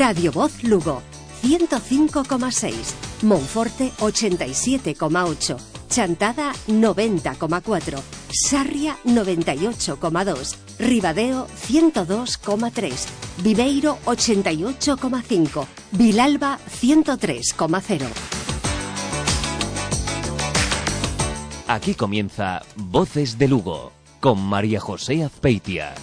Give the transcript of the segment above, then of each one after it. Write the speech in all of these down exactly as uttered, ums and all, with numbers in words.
Radio Voz Lugo, ciento cinco coma seis, Monforte ochenta y siete coma ocho, Chantada noventa coma cuatro, Sarria noventa y ocho coma dos, Ribadeo ciento dos coma tres, Viveiro ochenta y ocho coma cinco, Vilalba ciento tres coma cero. Aquí comienza Voces de Lugo, con María José Azpeitia.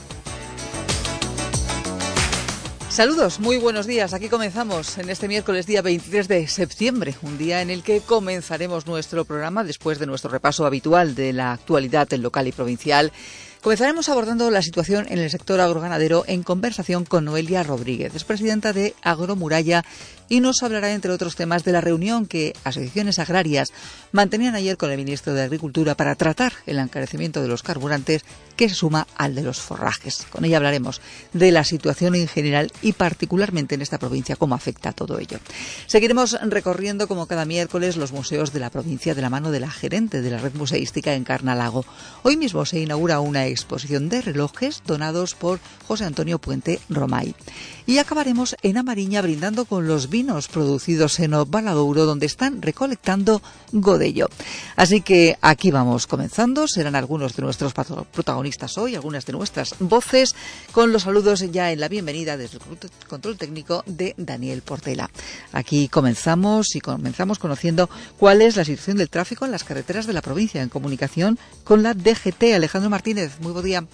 Saludos, muy buenos días. Aquí comenzamos en este miércoles día veintitrés de septiembre, un día en el que comenzaremos nuestro programa después de nuestro repaso habitual de la actualidad en local y provincial. Comenzaremos abordando la situación en el sector agroganadero en conversación con Noelia Rodríguez, es presidenta de Agromuralla, y nos hablará, entre otros temas, de la reunión que asociaciones agrarias mantenían ayer con el ministro de Agricultura para tratar el encarecimiento de los carburantes, que se suma al de los forrajes. Con ella hablaremos de la situación en general y particularmente en esta provincia, cómo afecta todo ello. Seguiremos recorriendo, como cada miércoles, los museos de la provincia de la mano de la gerente de la red museística Encarna Lago. Hoy mismo se inaugura una exposición de relojes donados por José Antonio Puente Romay. Y acabaremos en A Mariña brindando con los vinos producidos en O Valadouro, donde están recolectando godello. Así que aquí vamos comenzando. Serán algunos de nuestros protagonistas hoy, algunas de nuestras voces, con los saludos ya en la bienvenida desde el control técnico de Daniel Portela. Aquí comenzamos y comenzamos conociendo cuál es la situación del tráfico en las carreteras de la provincia, en comunicación con la D G T. Alejandro Martínez, muy buen día.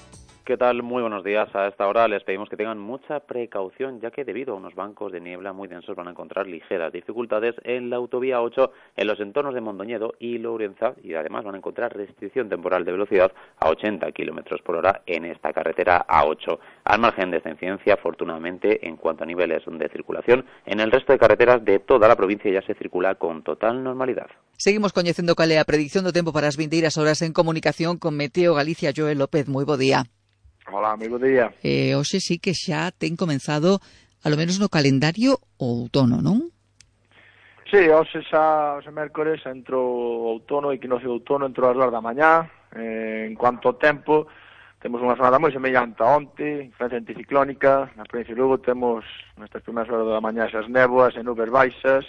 ¿Qué tal? Muy buenos días. A esta hora les pedimos que tengan mucha precaución, ya que debido a unos bancos de niebla muy densos van a encontrar ligeras dificultades en la autovía ocho, en los entornos de Mondoñedo y Lourenza, y además van a encontrar restricción temporal de velocidad a ochenta kilómetros por hora en esta carretera A ocho. Al margen de esta incidencia, afortunadamente, en cuanto a niveles de circulación, en el resto de carreteras de toda la provincia ya se circula con total normalidad. Seguimos coñecendo cal é a predicción do tempo para as vindeiras horas en comunicación con Meteo Galicia. Joel López, moi bo día. Hola, moi bo día. Eh, hoxe sí que xa ten comenzado, a lo menos no calendario, o outono, non? Sí, hoxe xa, hoxe mércores, entro o outono, equinoccio de outono, entro as dúas da mañá. Eh, en cuanto ao tempo, temos unha jornada moi semellante a onte, influencia anticiclónica. Na provincia de Lugo temos, nestas primeiras horas da mañá, esas néboas e nubes baixas.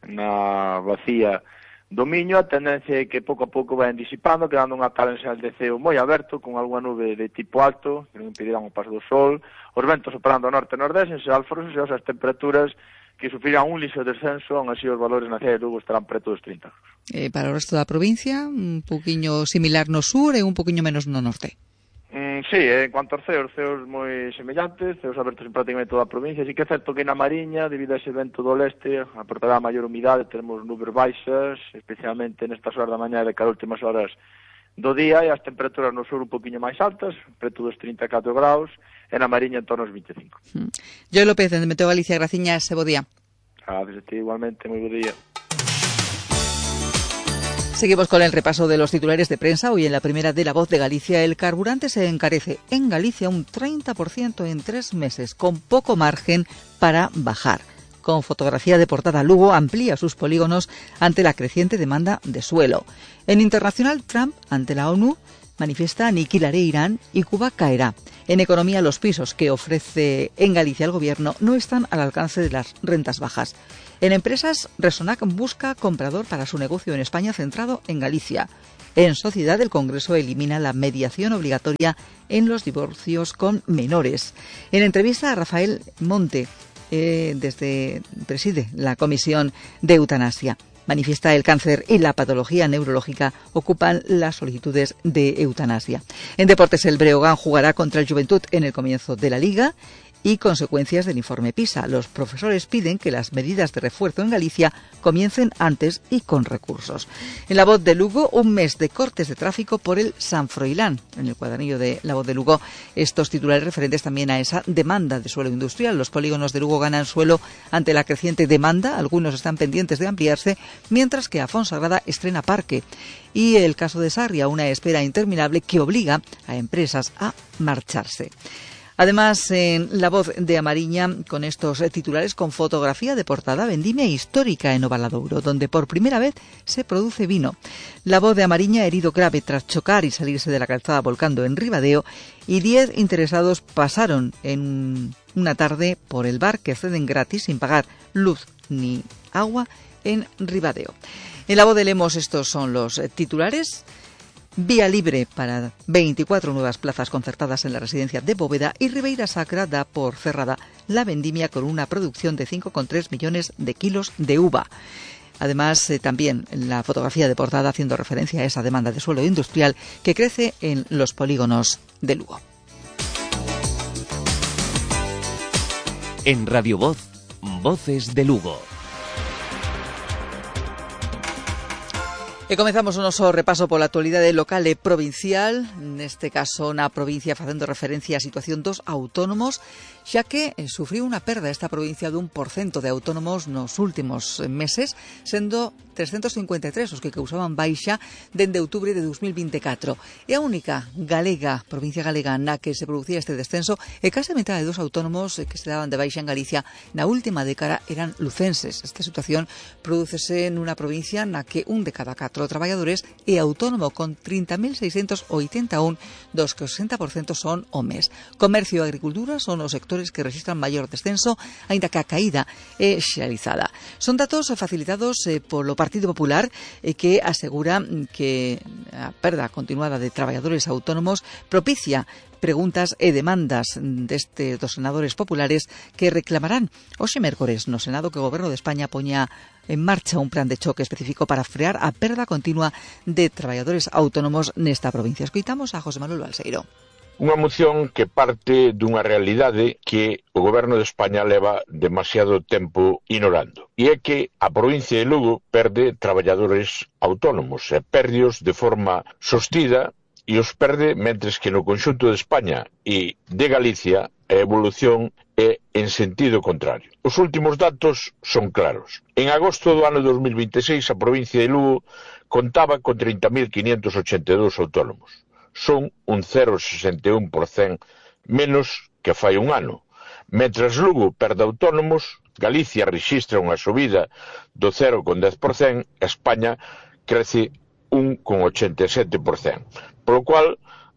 Na bacía do Miño, a tendencia é que pouco a pouco vai disipando, quedando unha tal ensal de ceo moi aberto, con algunha nube de tipo alto, que non impedirán o paso do sol, os ventos operando ao norte e nordeste, en Alforos e as temperaturas que sufrirán un lixo descenso, aún así os valores na cidade de Lugo estarán preto dos trinta. Eh, para o resto da provincia, un poquinho similar no sur e un poquinho menos no norte. Mm, sí, en cuanto aos ceos, ceos moi semellantes, ceos abertos en prácticamente toda a provincia, así que é certo que na Mariña, debido a ese vento do leste, aportará maior humidade, teremos nubes baixas, especialmente nestas horas da mañá e de cada últimas horas do día, e as temperaturas no sur un poquinho máis altas, preto dos trinta e catro graus, e na Mariña en torno aos vinte e cinco. Mm. Joel López, de Meteo Galicia, graciñas, e bo día. Gracias a ti, igualmente, moi bo día. Seguimos con el repaso de los titulares de prensa. Hoy en la primera de La Voz de Galicia, el carburante se encarece en Galicia un treinta por ciento en tres meses, con poco margen para bajar. Con fotografía de portada, Lugo amplía sus polígonos ante la creciente demanda de suelo. En internacional, Trump, ante la ONU, manifiesta aniquilaré Irán y Cuba caerá. En economía, los pisos que ofrece en Galicia el gobierno no están al alcance de las rentas bajas. En empresas, Resonac busca comprador para su negocio en España centrado en Galicia. En sociedad, el Congreso elimina la mediación obligatoria en los divorcios con menores. En entrevista a Rafael Monte, eh, desde preside la Comisión de Eutanasia. Manifiesta el cáncer y la patología neurológica ocupan las solicitudes de eutanasia. En deportes, el Breogán jugará contra el Juventud en el comienzo de la Liga. Y consecuencias del informe PISA. Los profesores piden que las medidas de refuerzo en Galicia comiencen antes y con recursos. En La Voz de Lugo, un mes de cortes de tráfico por el San Froilán. En el cuadernillo de La Voz de Lugo, estos titulares referentes también a esa demanda de suelo industrial. Los polígonos de Lugo ganan suelo ante la creciente demanda. Algunos están pendientes de ampliarse, mientras que Afonsagrada estrena parque. Y el caso de Sarria, una espera interminable que obliga a empresas a marcharse. Además, en La Voz de Amariña, con estos titulares con fotografía de portada, vendimia histórica en Ovaladouro, donde por primera vez se produce vino. La Voz de Amariña, herido grave tras chocar y salirse de la calzada volcando en Ribadeo, y diez interesados pasaron en una tarde por el bar que ceden gratis sin pagar luz ni agua en Ribadeo. En La Voz de Lemos estos son los titulares. Vía libre para veinticuatro nuevas plazas concertadas en la residencia de Bóveda, y Ribeira Sacra da por cerrada la vendimia con una producción de cinco coma tres millones de kilos de uva. Además, eh, también la fotografía de portada haciendo referencia a esa demanda de suelo industrial que crece en los polígonos de Lugo. En Radio Voz, Voces de Lugo. E comezamos o noso repaso pola actualidade local e provincial, neste caso na provincia facendo referencia á situación dos autónomos, xa que sufriu unha perda esta provincia dun por cento de autónomos nos últimos meses, sendo trescentos cincuenta e tres os que causaban baixa dende outubro de dos mil vinte e catro. É a única galega, provincia galega, na que se producía este descenso, e case a metade dos autónomos que se daban de baixa en Galicia na última década eran lucenses. Esta situación prodúcese nunha provincia na que un de cada catro traballadores é autónomo, con trinta mil seiscentos oitenta e un, dos que o sesenta por cento son homes. Comercio e agricultura son os sectores que registran maior descenso, aínda que a caída é xeneralizada. Son datos facilitados eh, polo Partido Popular, eh, que asegura que a perda continuada de traballadores autónomos propicia preguntas e demandas deste dos senadores populares que reclamarán hoxe mércores no Senado que o Goberno de España poña en marcha un plan de choque específico para frear a perda continua de traballadores autónomos nesta provincia. Escoitamos a José Manuel Balseiro. Unha moción que parte dunha realidade que o Goberno de España leva demasiado tempo ignorando. E é que a provincia de Lugo perde traballadores autónomos e perdios de forma sostida, e os perde mentres que no conxunto de España e de Galicia a evolución é en sentido contrario. Os últimos datos son claros. En agosto do ano dos mil vinte e seis a provincia de Lugo contaba con trinta mil quinhentos ochenta e dous autónomos. Son un cero vírgula sesenta e un por cento menos que fai un ano. Mentras Lugo perde autónomos, Galicia rexistra unha subida do cero vírgula dez por cento, España crece un vírgula ochenta e sete por cento. Por lo cual,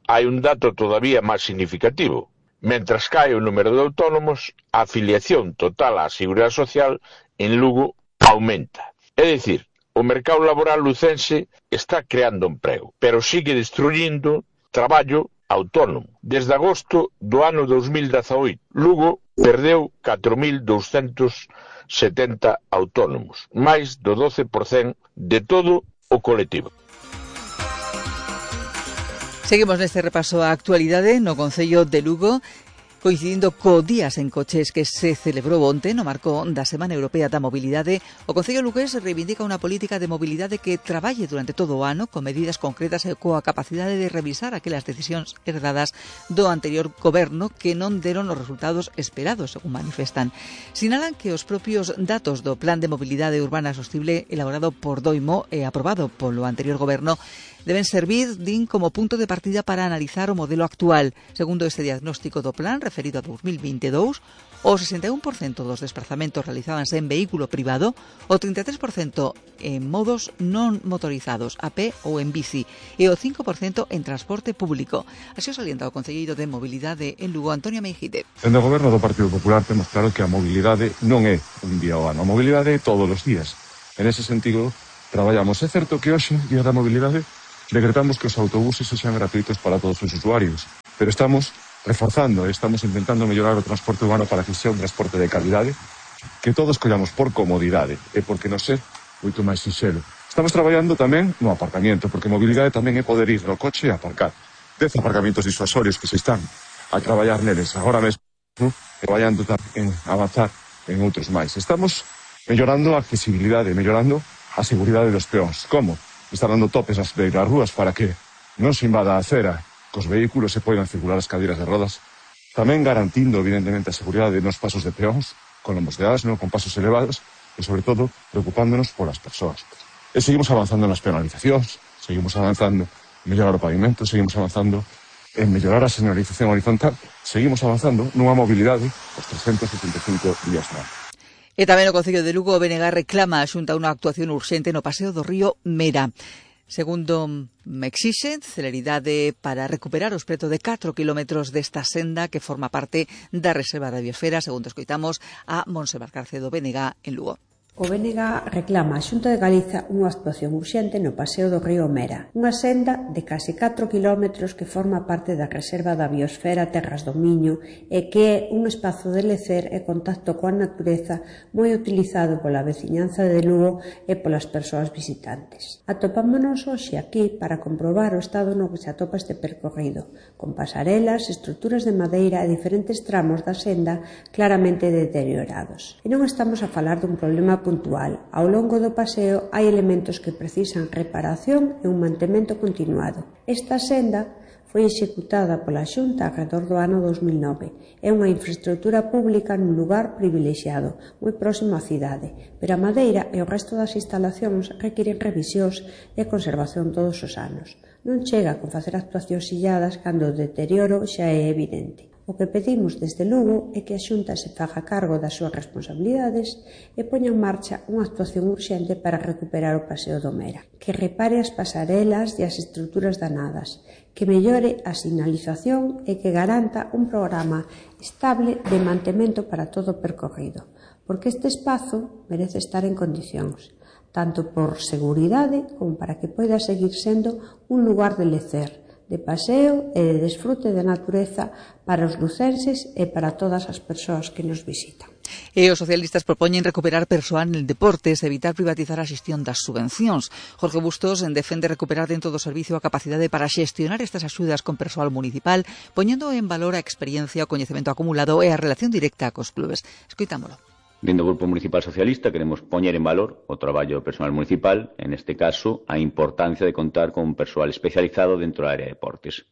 hai un dato todavía máis significativo. Mentras cae o número de autónomos, a afiliación total á Seguridade Social en Lugo aumenta. É dicir, o mercado laboral lucense está creando emprego, pero sigue destruindo traballo autónomo. Desde agosto do ano dos mil dezaoito, Lugo perdeu catro mil douscentos setenta autónomos, máis do doce por cento de todo o colectivo. Seguimos neste repaso á actualidade no Concello de Lugo, coincidindo co Días en Coches que se celebrou onte no marco da Semana Europea da Mobilidade. O Concello lugués reivindica unha política de mobilidade que traballe durante todo o ano con medidas concretas e coa capacidade de revisar aquelas decisións herdadas do anterior goberno que non deron os resultados esperados, según manifestan. Sinalan que os propios datos do Plan de Mobilidade Urbana Sostible elaborado por Doimo e aprobado polo anterior goberno deben servir, din, como punto de partida para analizar o modelo actual. Segundo este diagnóstico do plan referido a dos mil vinte e dous, o sesenta e un por cento dos desplazamentos realizábanse en vehículo privado, o trinta e tres por cento en modos non motorizados, a pé ou en bici, e o cinco por cento en transporte público. Así o salienta o concelleiro de Mobilidade en Lugo, Antonio Meijide. En o goberno do Partido Popular temos claro que a mobilidade non é un día ao ano, a mobilidade é todos os días. En ese sentido, traballamos. É certo que hoxe, día da mobilidade, decretamos que os autobuses sexan gratuitos para todos os usuarios, pero estamos reforzando e estamos intentando mellorar o transporte urbano para que sea un transporte de calidade, que todos collamos por comodidade e porque nos é moito máis sinxelo. Estamos traballando tamén no aparcamiento, porque mobilidade tamén é poder ir no coche e aparcar. Dez aparcamientos disuasorios que se están a traballar neles agora mesmo, e traballando en avanzar en outros máis. Estamos mellorando a accesibilidade, mellorando a seguridade dos peóns. Como? Está dando topes nas beiras rúas para que non se invada a acera, que os vehículos se poidan circular as cadeiras de rodas, tamén garantindo, evidentemente, a seguridade nos pasos de peóns, con lombos de asno, con pasos elevados, e, sobre todo, preocupándonos polas persoas. E seguimos avanzando nas penalizacións, seguimos avanzando en mellorar o pavimento, seguimos avanzando en mellorar a señalización horizontal, seguimos avanzando nunha mobilidade os trescentos setenta e cinco días no ano. E tamén o Concello de Lugo, o B N G reclama a Xunta unha actuación urxente no paseo do río Mera. Segundo me exixe, celeridade para recuperar os preto de catro kilómetros desta senda que forma parte da Reserva da Biosfera, segundo escoitamos a Montserrat Carcedo, B N G en Lugo. O B N G reclama a Xunta de Galiza unha actuación urxente no paseo do río Mera, unha senda de case catro kilómetros que forma parte da Reserva da Biosfera Terras do Miño e que é un espazo de lecer e contacto coa natureza moi utilizado pola veciñanza de Lugo e polas persoas visitantes. Atopámonos hoxe aquí para comprobar o estado no que se atopa este percorrido, con pasarelas, estruturas de madeira e diferentes tramos da senda claramente deteriorados. E non estamos a falar dun problema puntual. Ao longo do paseo hai elementos que precisan reparación e un mantemento continuado. Esta senda foi executada pola Xunta alrededor do ano dos mil nove. É unha infraestructura pública nun lugar privilexiado, moi próximo á cidade, pero a madeira e o resto das instalacións requiren revisións e conservación todos os anos. Non chega con facer actuacións illadas cando o deterioro xa é evidente. O que pedimos desde Lugo é que a Xunta se faga cargo das súas responsabilidades e poña en marcha unha actuación urxente para recuperar o paseo do Mera, que repare as pasarelas e as estruturas danadas, que mellore a sinalización e que garanta un programa estable de mantemento para todo o percorrido, porque este espazo merece estar en condicións, tanto por seguridade como para que poida seguir sendo un lugar de lecer, de paseo e de desfrute da natureza para os lucenses e para todas as persoas que nos visitan. E os socialistas propoñen recuperar persoal en deportes e evitar privatizar a xestión das subvencións. Jorge Bustos defende recuperar dentro do servicio a capacidade para xestionar estas axudas con persoal municipal, poñendo en valor a experiencia, o coñecemento acumulado e a relación directa cos clubes. Escoitámolo. Dentro do Grupo Municipal Socialista queremos poñer en valor o traballo do personal municipal, en este caso, a importancia de contar con un persoal especializado dentro da área de deportes.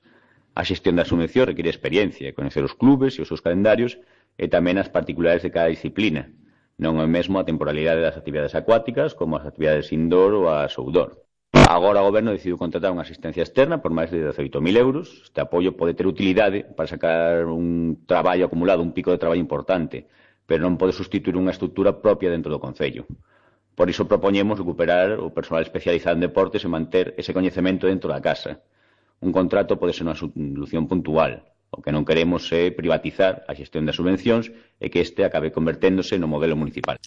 A xestión da subvención require experiencia, coñecer os clubes e os seus calendarios e tamén as particulares de cada disciplina. Non é o mesmo a temporalidade das actividades acuáticas como as actividades indoor ou as outdoor. Agora o Goberno decidiu contratar unha asistencia externa por máis de dezaoito mil euros. Este apoio pode ter utilidade para sacar un traballo acumulado, un pico de traballo importante, pero non pode sustituir unha estrutura propia dentro do Concello. Por iso propoñemos recuperar o persoal especializado en deportes e manter ese coñecemento dentro da casa. Un contrato pode ser unha solución puntual. O que non queremos é privatizar a xestión das subvencións e que este acabe converténdose no modelo municipal.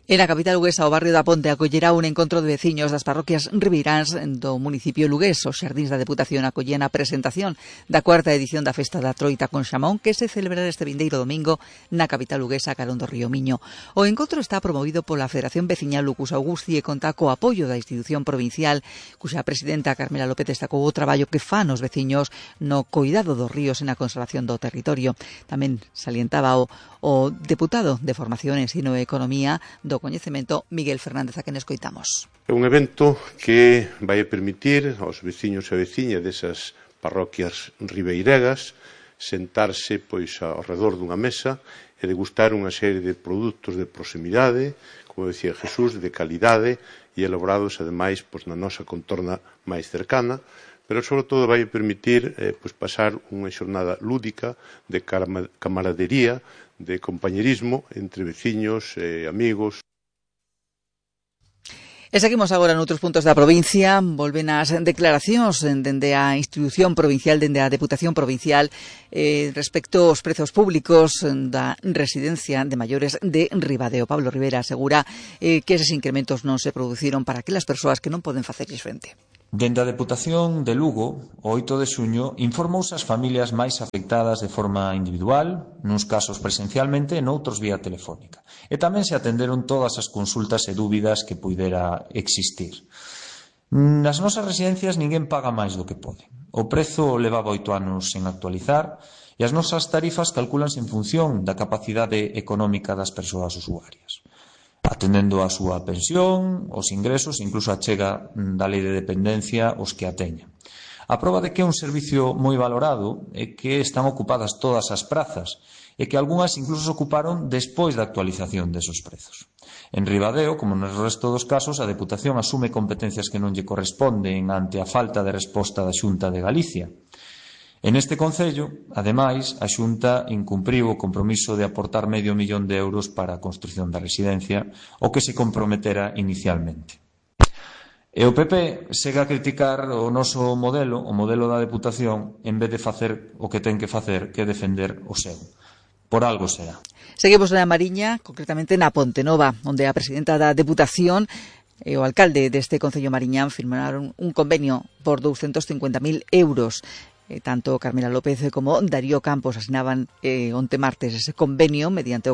En a capital luguesa, o barrio da Ponte acollerá un encontro de veciños das parroquias ribeiráns do municipio lugués. Os xardíns da Deputación acollen a presentación da cuarta edición da Festa da Troita con Xamón, que se celebrará este vindeiro domingo na capital luguesa, carón do Río Miño. O encontro está promovido pola Federación Veciñal Lucus Augusti e conta co apoio da institución provincial, cuxa presidenta Carmela López destacou o traballo que fan os veciños no coidado dos ríos e na conservación do territorio. Tamén salientaba o, o deputado de Formación, Ensino e Economía do coñecemento, Miguel Fernández, a quen escoitamos. É un evento que vai permitir aos veciños e veciñas desas parroquias ribeiregas sentarse pois ao redor dunha mesa e degustar unha serie de produtos de proximidade, como decía Jesús, de calidade e elaborados ademais pois, na nosa contorna máis cercana, pero sobre todo vai permitir eh, pois, pasar unha xornada lúdica de camaradería, de compañerismo entre veciños e amigos. E seguimos agora noutros puntos da provincia. Volven as declaracións dende a institución provincial, dende a Deputación Provincial, eh, respecto aos prezos públicos da residencia de maiores de Ribadeo. Pablo Rivera asegura eh, que eses incrementos non se produciron para aquelas persoas que non poden facerlles frente. Dende a Deputación de Lugo, o oito de xuño, informouse as familias máis afectadas de forma individual, nuns casos presencialmente e noutros vía telefónica. E tamén se atenderon todas as consultas e dúbidas que puidera existir. Nas nosas residencias ninguén paga máis do que pode. O prezo levaba oito anos sen actualizar e as nosas tarifas calculanse en función da capacidade económica das persoas usuarias, atendendo a súa pensión, os ingresos e incluso a chega da lei de dependencia os que a teñan. A proba de que é un servicio moi valorado é que están ocupadas todas as prazas e que algunhas incluso se ocuparon despois da actualización desos prezos. En Ribadeo, como no resto dos casos, a Deputación asume competencias que non lle corresponden ante a falta de resposta da Xunta de Galicia. En este concello, ademais, a Xunta incumpriu o compromiso de aportar medio millón de euros para a construción da residencia, o que se comprometera inicialmente. E o P P segue a criticar o noso modelo, o modelo da Deputación, en vez de facer o que ten que facer, que defender o seu. Por algo será. Seguimos na Mariña, concretamente na Pontenova, onde a presidenta da Deputación e o alcalde deste concello mariñán firmaron un convenio por doscientos cincuenta mil euros. Eh, tanto Carmela López como Darío Campos asinaban eh, onte martes ese convenio mediante o